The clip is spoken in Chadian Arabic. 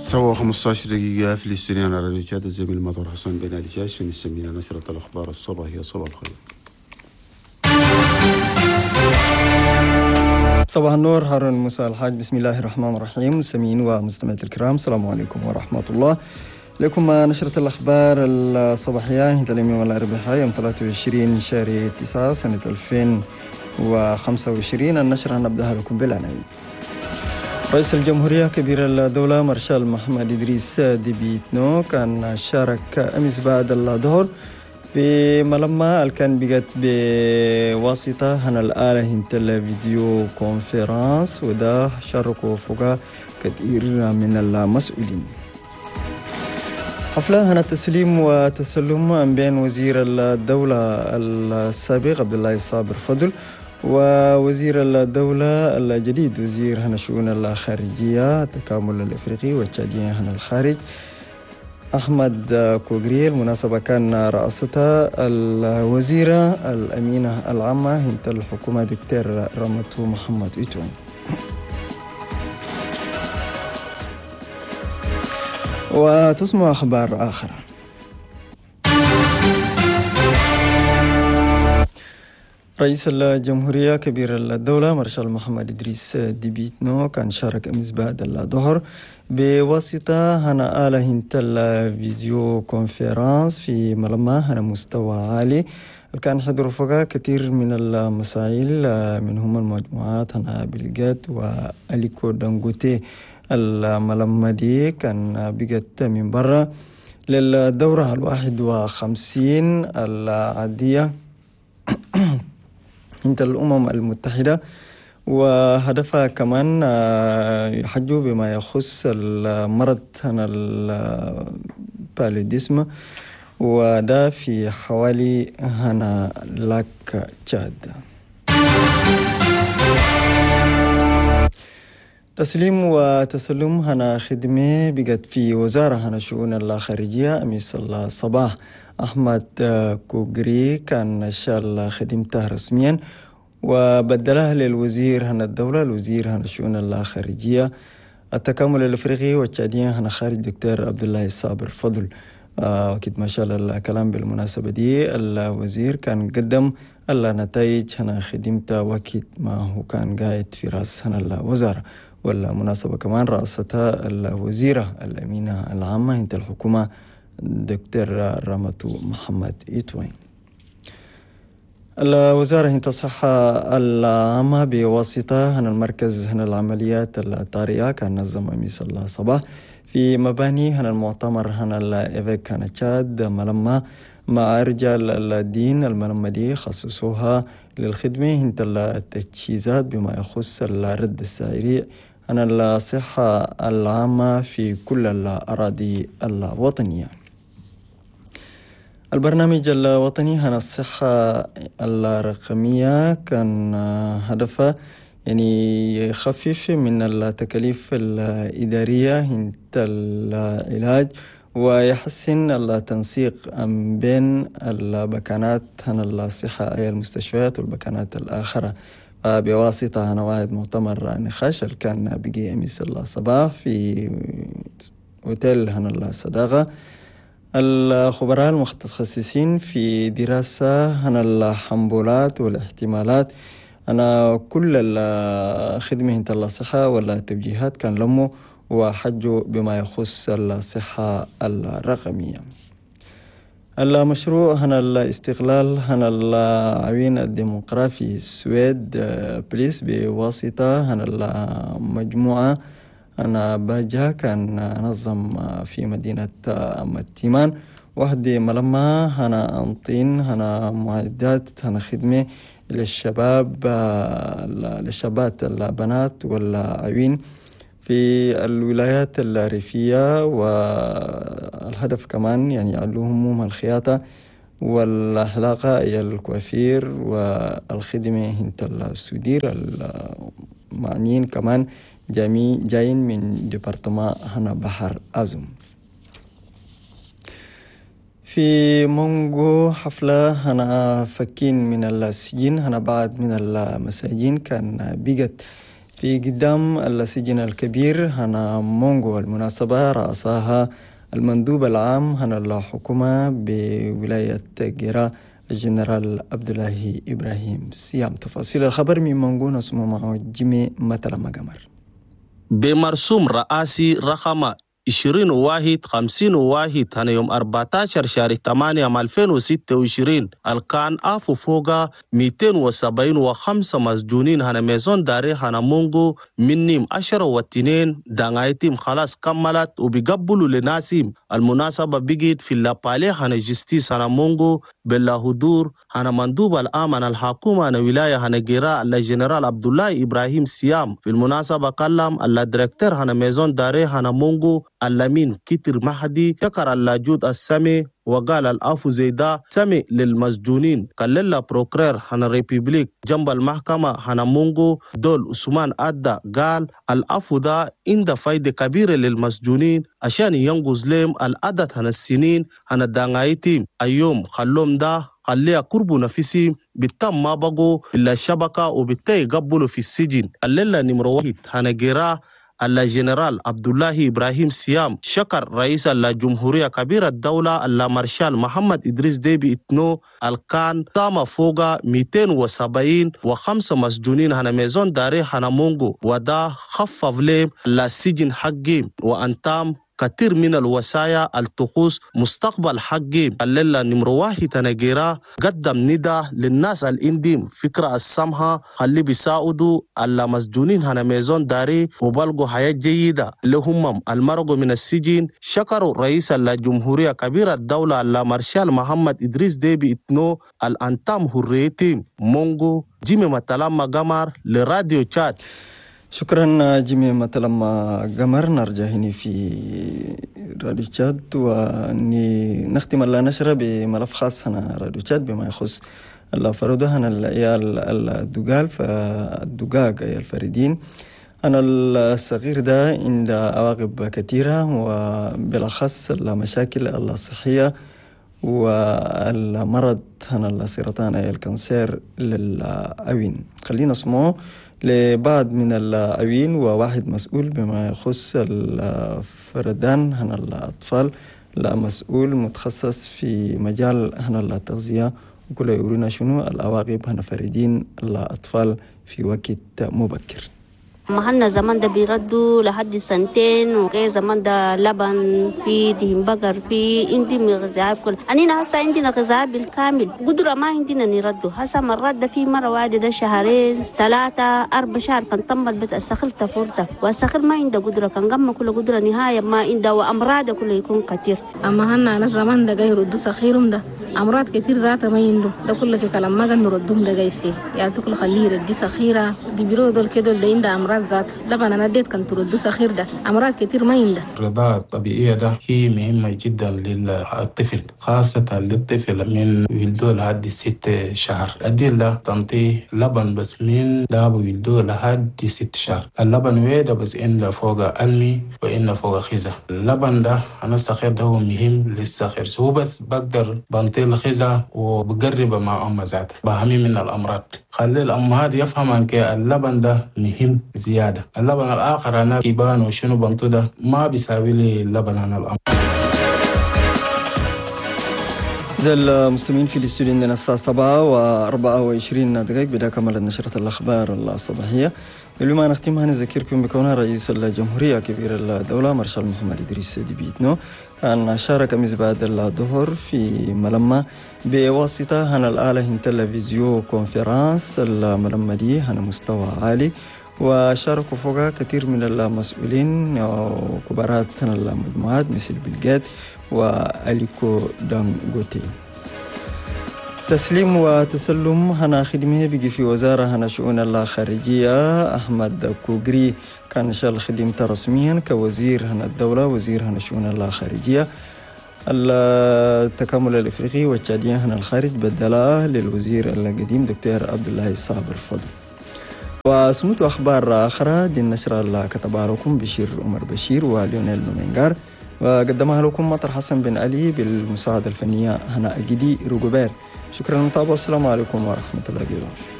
7:15 دقيقة في الاستوديو على راديو تشاد. الزميل مطر حسن بن علي جاش نسمينا نشرة الأخبار الصباحية. صباح الخير. صباح النور هارون موسى الحاج. بسم الله الرحمن الرحيم. مستمعين ومستمعات الكرام، السلام عليكم ورحمة الله. لكم نشرة الأخبار الصباحية اليوم الأربعاء يوم 23 شهر 9 سنة 2025. النشرة نبدأها لكم بالعناوين. رئيس الجمهورية كبير الدولة مارشال محمد إدريس ديبي إتنو كان شارك أمس بعد الظهر في ملمة كان بقت بواسطة هنا الآلة هنت ال vidéoconférence، وده شاركوا فوق كثير من المسؤولين. حفلة هنا تسليم وتسلم بين وزير الدولة السابق عبد الله صابر فضل ووزير الدولة الجديد وزير هنا شؤون الخارجية التكامل الإفريقي والتشادية هنا الخارج أحمد كوغري. المناسبة كان رأستها الوزيرة الأمينة العامة هنت الحكومة دكتور رمتو محمد إيتون. وتسمع أخبار آخرى. رئيس الجمهورية كبير الدولة مارشال محمد إدريس ديبي إتنو كان شارك أمس بعد الظهر بواسطة هنا آلة هنت ال vidéoconférence في ملمة هنا مستوى عالي كان حضر فوقها كثير من المسائل، منهم المجموعات هنا بلغات وأليكو دانغوتي. الملمة دي كان بقت من برا للدورة 51 العادية انت الأمم المتحدة، وهدفها كمان يحجوا بما يخص المرض هنا البالوديسم، وده في حوالي هنا لاك تشاد. تسليم وتسلم هنا خدمة بقت في وزارة هنا شؤون الخارجية أمس الصباح. أحمد كوغري كان شال خدمته رسميا وبدلها للوزير هنا الدولة الوزير هنا شؤون الخارجية التكامل الأفريقي والتشادية هنا خارج دكتور عبد الله صابر فضل. وكد ما شال الكلام بالمناسبة دي الوزير كان قدم النتائج هنا خدمته وكد ما هو كان قاعد في رأس هنا الوزارة. والمناسبة كمان رأستها الوزيرة الأمينة العامة انت الحكومة دكتور رامتو محمد إيتوين. الوزارة انت الصحة العامة بواسطة هنا المركز هنا العمليات الطارئة كان نظم أمس الصباح في مباني هنا المؤتمر هنا الإيفيك هنا تشاد ملمة مع رجال الدين. الملمة دي خصصوها للخدمة انت التجهيزات بما يخص الرد السريع هنا الصحة العامة في كل الأراضي الوطنية. البرنامج الوطني هنا الصحة الرقمية كان هدفه يعني يخفف من التكاليف الإدارية انت العلاج ويحسن التنسيق بين البكانات هنا الصحة أي المستشفيات والبكانات الآخرة بواسطة هنا واحد مؤتمر نقاش اللي كان بقي أمس الصباح في أوتيل هنا الصداقة. الخبراء المتخصصين في دراسة هنا الحنبولات والاحتمالات أنا كل الخدمة انت الصحة والتوجيهات كان لموا وحجوا بما يخص الصحة الرقمية. المشروع هنا الاستقلال هنا العوين الديمقرافي السويد بليس بواسطة هنا المجموعة أنا باجا كان نظم في مدينة متيمان وحدي ملمة هنا أنطين هنا معدات هنا خدمة للشباب للشابات البنات والعوين في الولايات الريفية، والهدف كمان يعني يعلوهم الخياطة والحلاقة إلى الكوافير والخدمة هنت السودير المعنيين كمان جايين من ديبارتمان هنا بحر أزم. في مونغو حفلة هنا فكين من السجين هنا بعد من المساجين كان بقت في قدام السجن الكبير هنا مونغو. المناسبة رأسها المندوب العام هنا الحكومة بولاية جيرا الجنرال عبد الله إبراهيم سيام. تفاصيل الخبر من مونغو نسمع معه جيمي مثلا مقمر. بمرسوم رئاسي رقم 21 51 هنا يوم 14 شهر 8 2026 الكان أفو فوقا 275 مسجونين هنا maison d'arrêt هنا مونغو منهم 10 دعايتهم خلاص كملت وبيقبلوا لناسيم. المناسبة بقيت في le palais هنا justice هنا مونغو بلا حضور هنا مندوب العام هنا الحكومة هنا ولاية هنا جيرا الجنرال عبد الله إبراهيم سيام. في المناسبة كلم ال directeur هنا maison d'arrêt هنا مونغو اللمين كتر مهدي، شكر اللاجود السمي وقال الأفو زيدا سمي للمسجونين. قال procureur هنا république جنب المحكمة هنا مونغو دول عثمان أدى قال الأفو دا عند فايدة كبيرة للمسجونين عشان ينقص لهم العدد هنا السنين هنا دانغايتيم اليوم خلوم دا خليها قربوا نفسي بالتم ما بقوا إلا الشبكة وبالتالي قبلوا في السجن. الليلة نمرة 1 هنا جيرا الجنرال عبد الله إبراهيم سيام شكر رئيس الجمهورية كبير الدولة المارشال محمد إدريس ديبي إتنو الكان تام فوق 275 مسجونين هنا maison d'arrêt هنا مونغو ودا خفف لهم السجن حقهم وأنتام كثير من الوصايا التخص مستقبل حقي. الليلة نمرة 1 نجيرا قدم ندى للناس الانديم فكرة السمحة خلي بيساعدوا المسجونين هنا maison d'arrêt وبلغوا حياة جيدة لهم المرقوا من السجن. شكروا رئيس الجمهورية كبير الدولة المارشال محمد إدريس ديبي إتنو الأنتام هريتي مونغو. جيمي متلما قمر لراديو تشاد. شكرا جيمي متلما قمر. نرجع هنا في راديو تشاد ونختم النشرة بملف خاص هنا راديو تشاد بما يخص الفرودة هنا العيال الدقال فالدقاق أي الفريدين. أنا الصغير ده عند عواقب كثيرة وبالأخص المشاكل الصحية والمرض هنا السرطان أي ال cancer للعوين. خلينا نسمعه لبعض من العوين وواحد مسؤول بما يخص الفردان هنا الأطفال، لا مسؤول متخصص في مجال هنا التغذية وكل يورينا شنو العواقب هنا فردين الأطفال في وقت مبكر. ما زمان ده بيردوا لحد سنتين وغير زمان ده لبن في دهن بقر في عندي غذاء كل أنينا هسا عندنا غذاء بالكامل قدرة ما عندنا نردوا هسا مرات ده في مرة واحدة ده شهرين 3 4 شهر كان طمل بيت السخل تفورته والسخل ما عنده قدرة كان قم كل قدرة نهاية ما عنده وأمراض كله يكون كتير. أما هنا على زمان ده جاي يردوا سخيرهم ده أمراض كتير ذاته ما عنده ده كله كلام ما نردهم ده جاي يصير يعني تقول خليه يردي سخيرة بيبرو دول كده اللي عنده أمراض ذات لبن أنا اديت كان ترد سخير ده أمراض كتير ما عنده. الرضاعة الطبيعية ده هي مهمة جدا للطفل خاصة للطفل من ولدوه لحد 6 شهر. أدي تنطيه لبن بس من داب ولدوه لحد 6 شهر. اللبن ويدا بس إن فوق ألمي وإن فوق خزة. اللبن ده أنا الصغير ده هو مهم للصغير هو بس بقدر بنطيه الخزة وبقربه مع أمه ذاته بهمي من الأمراض. خلي الأمهات يفهم أن اللبن ده مهم زيادة. اللبن الآخر أنا كيبان وشنو بنطو ده ما بيساوي لي اللبن أنا الأم. زي المستمعين في الاستوديو عندنا الساعة 7:24 بدأ كمل نشرة الأخبار الصباحية. قبل ما نختمها نذكركم بكونها رئيس الجمهورية كبير الدولة مارشال محمد إدريس ديبي إتنو كان شارك أمس بعد الظهر في ملمة بواسطة هنا الآلة هنتلا visioconférence. الملمة دي هنا مستوى عالي وشاركوا فوقها كثير من المسؤولين وكبارات المجموعات مثل بيل جيتس وأليكو دانغوتي. تسليم وتسلم هنا خدمه بيجي في وزارة هنا شؤون الخارجية أحمد كوغري كان شال خدمته رسميا كوزير هنا الدولة وزير هنا شؤون الخارجية. التكامل الإفريقي والتشادية هنا الخارج بدلاه للوزير القديم دكتور عبد الله صابر الفضل. وسموت أخبار أخرى دي النشرة اللي كتبها لكم بشير عمر بشير وليونيل نومينغار وقدمها لكم مطر حسن بن علي بالمساعدة الفنية هنا أجدي روجوبير. شكرا للمتابعة والسلام عليكم ورحمة الله وبركاته.